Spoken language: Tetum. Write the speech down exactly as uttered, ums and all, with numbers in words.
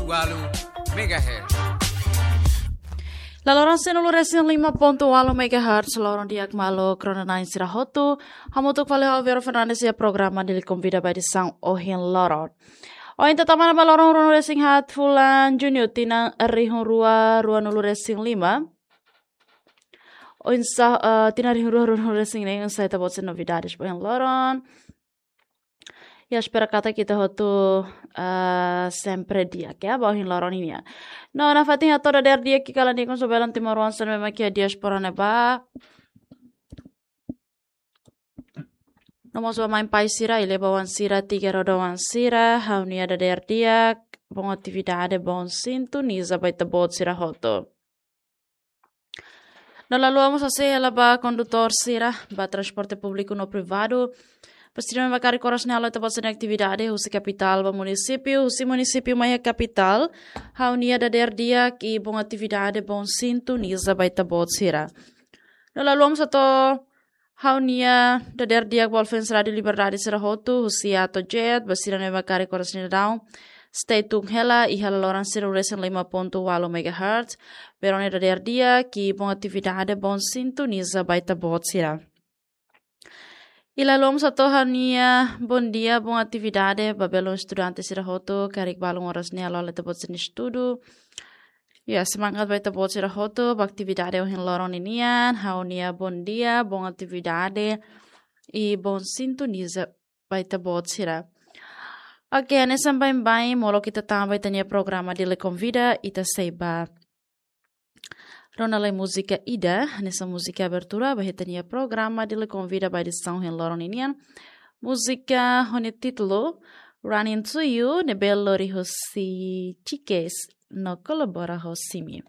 Walu megahertz. La loron sanulu resin lima pontu walu megahertz, loron di'ak malu rona-na'in sira hotu. Hamutuk fali ho Vero Fernandes iha programa Dili Konvida ba edisaun ohin loron. Ohin ita tama ona ba loron ruanulu resin haat fulan Junu tinan rihun rua ruanulu resin lima. Oinsá, eh, tinan rihun rua ruanulu resin neen, oinsá ita-boot sira-nia novidades ba ohin loron. Ya, espera katak ita hotu, eh, sempre di'ak, ya, ba ohin loron nian. No, nafatin hato'o dadeer di'ak iha kalan ida-ne'e, konso belun timoroan sira ne'ebé mak iha diáspora ne'ebá. No mós ba mãe pai sira, iha li'ur ba oan sira, tigre rodo oan sira, ha'u-nia dadeer di'ak, boa atividade, boa sintonizasaun ba ita-boot sira hotu. No la haluha mós hase'e hela ba kondutór sira, ba transporte públiku no privadu. Ba sira ne'ebé mak karik oras ne'e halo ita-boot sira-nia atividade, husi kapitál ba munisípiu, husi munisípiu mai iha kapitál, ha'u-nia dadeer di'ak i boa atividade, boa sintonizasaun ba ita-boot sira. No la haluha mós hato'o ha'u-nia dadeer di'ak ba fans Rádiu Liberdade sira hotu, husi A to'o Z, ba sira ne'ebé mak karik oras ne'e daudaun. Stay tune hela iha la loron sanulu resin lima pontu walu megahertz. Vero nia dadeer di'ak i boa atividade, boa sintonizasaun ba ita-boot sira. I la haluha mós hato'o ha'u-nia bondia, boa atividade ba belun estudante sira hotu, karik balun oras ne'e halo ita-boot sira-nia estudu. Ya, semangat ba ita-boot sira hotu ba atividade ohin loron ninian, ha'u-nia bondia, boa atividade i boa sintonizasaun ba ita-boot sira. Oke, hanesan baibain, molok ita tama ba ita-nia programa Dili Konvida, ita sei bá rona lai múzika ida, hanesan múzika abertura ba ita-nia programa Dili Konvida ba edisaun ohin loron ninian. Múzika ho nia títulu Running to You, ne'ebé lori husi Chikes no kolabora ho Simi.